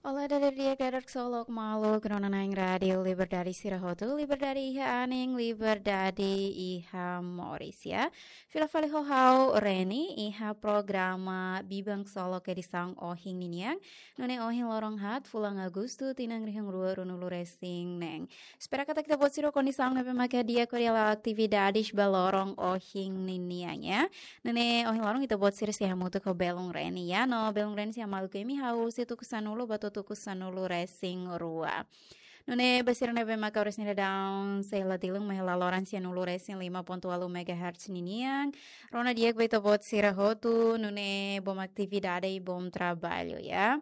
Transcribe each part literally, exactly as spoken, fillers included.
Olá, dadeer di'ak, dadeer ksolok maluk rona-na'in Rádiu Liberdade sira hotu, liberdade iha anin, liberdade iha moris, ya. Fila fali ho ha'u Reni iha programa Biban Ksolok edisaun ohin ninian, nune'e ohin loron haat, fulan Agostu, tinan rihun rua ruanulu resin neen. Espera katak ita-boot sira kondisaun ne'ebé maka di'ak hodi hala'o atividades ba loron ohin ninian, ya. Nune'e ohin loron ita-boot sira sei hamutuk ho belun Reni, ya. No belun Reni sei hamaluk imi hahú husi tuku sanulu ba to'o tuku sanulu resin rua. Nune'e ba sira ne'ebé maka oras ne'e daudaun sei la tilun mai hela loron sianulu resin lima ponto ualu megahertz ninian, rona di'ak ba ita-boot sira hotu, nune'e bom atividade i bom trabalho, ya.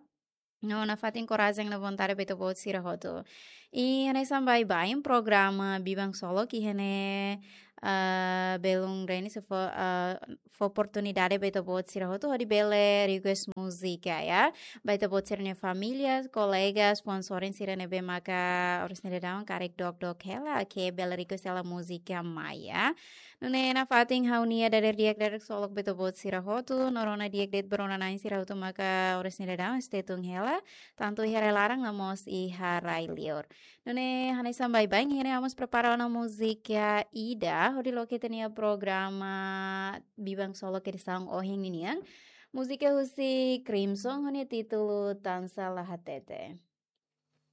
No nafatin korajen no vontade ba ita-boot sira hotu. I hanesan baibain programa Biban Ksolok iha ne'e, ah, belun Reni sei fó, ah, fó oportunidade ba ita-boot sira hotu hodi bele request múzika, ya. Ba ita-boot sira-nia família, kolega, sponsor sira ne'ebé maka oras ne'e daudaun karik dok-dok hela, ke bele request hela múzika mai, ya. Nune'e nafatin ha'u-nia dadeer di'ak, dadeer ksolok ba ita-boot sira hotu, no rona di'ak de'it ba rona-na'in sira hotu maka oras ne'e daudaun stay tune hela, tantu iha rai-laran no mós iha rai-liur. Nune'e hanesan baibain iha ne'e ha'u mós prepara ona múzika ida hodi loke ita-nia programa Biban Ksolok edisaun ohin ninian. Múzika husi Crimson ho nia títulu Tansá La Hatete.